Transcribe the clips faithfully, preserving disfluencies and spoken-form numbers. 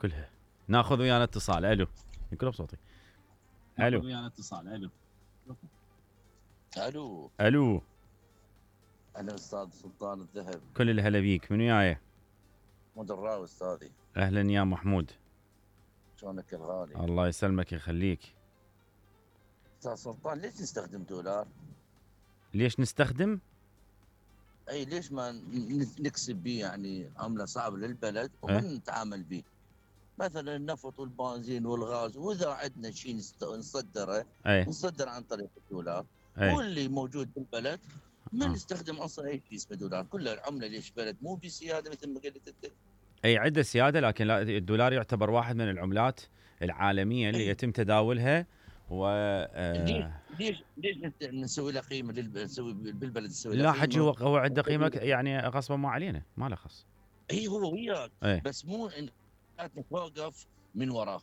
كلها. ناخذ ويانا اتصال. الو يقول بصوتي. الو ناخذ ويانا اتصال. الو الو الو انا استاذ سلطان الذهب. كل الهلا بيك. من وياي؟ محمود الراوي استاذي. اهلا يا محمود. شلونك الغالي؟ الله يسلمك يخليك. استاذ سلطان ليش نستخدم دولار؟ ليش نستخدم؟ اي ليش ما نكسب به يعني عمله صعبه للبلد وما أه؟ نتعامل به؟ مثلا النفط والبنزين والغاز، واذا عندنا شيء نصدره ايه نصدر عن طريق الدولار. ايه واللي موجود بالبلد ما آه. نستخدم اصلا اي شيء اسمه دولار، كلها العمله ليش بلد مو بسياده مثل ما قلت انت. اي عنده سياده، لكن لا، الدولار يعتبر واحد من العملات العالميه اللي أي. يتم تداولها. و ليش آه ليش ليش نسوي له قيمه للب... نسوي بالبلد نسوي له لا قيمه؟ حجي، هو هو عنده قيمه يعني غصبا ما علينا، ما له خص. اي هو وياك، ايه بس مو ان نتوقف من وراه.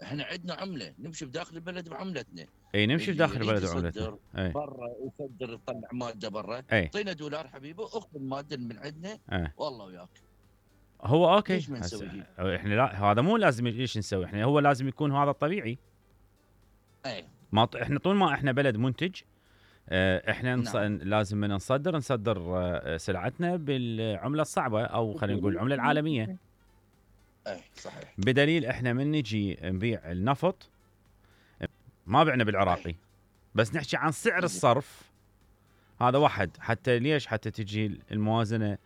احنا عندنا عمله نمشي بداخل البلد بعملتنا. اي نمشي اللي بداخل يريد البلد يصدر وعملتنا. اي برا يصدر يطلع ماده برا، اي اعطينا دولار حبيبي، اخذ الماده من عندنا ايه والله وياك. هو اوكي. ليش ما نسوي هيك؟ احنا لا، هذا مو لازم ليش نسوي، احنا هو لازم يكون هذا الطبيعي. اي ما ط... احنا طول ما احنا بلد منتج، اه احنا نص... نعم. لازم من نصدر نصدر اه سلعتنا بالعمله الصعبه، او خلينا نقول العمله العالميه. اي صحيح. بدليل احنا من نجي نبيع النفط ما بعنا بالعراقي، بس نحكي عن سعر الصرف. هذا واحد، حتى ليش؟ حتى تجي الموازنه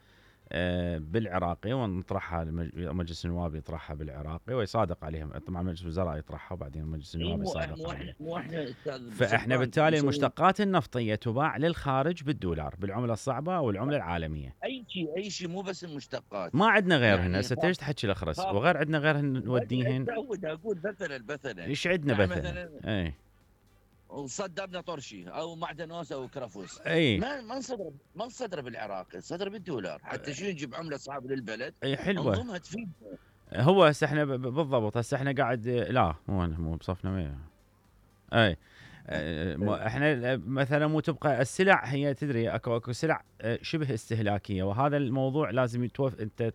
آه بالعراقي ونطرحها، مجلس النواب يطرحها بالعراقي ويصادق عليهم، طبعا مجلس الوزراء يطرحها وبعدين مجلس النواب يصادق عليها. مو احنا فاحنا بالتالي المشتقات النفطيه تباع للخارج بالدولار، بالعمله الصعبه او العمله العالميه. اي شيء اي شيء، مو بس المشتقات. ما عندنا غيرهن يعني هسه. ليش تحكي الاخرس وغير عندنا غيرهن نوديهن؟ اقول مثلا مثلا ايش عندنا يعني مثلا؟ مثلا اي وصدرنا طرشي او معدنوس او كرفوس، اي ما ما نصدر ما نصدر بالعراق، نصدر بالدولار، حتى شو نجيب عمله صعبه للبلد. اي حلوه. انظمها تفيد. هو هسه احنا بالضبط، هسه احنا قاعد لا مو مو بصفنا وياه. اي احنا مثلا مو تبقى السلع، هي تدري اكو اكو سلع شبه استهلاكيه، وهذا الموضوع لازم يتوف انت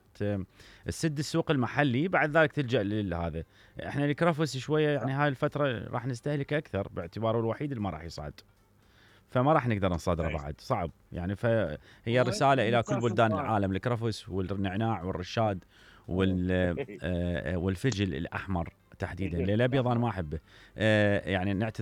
تسد السوق المحلي، بعد ذلك تلجا لهذا. احنا الكرفس شويه يعني هاي الفتره راح نستهلك اكثر، باعتباره الوحيد اللي ما راح يصعد، فما راح نقدر نصادره بعد، صعب يعني. فهي رساله الى كل بلدان العالم، الكرفس والنعناع والرشاد والفجل الاحمر تحديدا. الابيض انا ما احبه يعني. نعتذر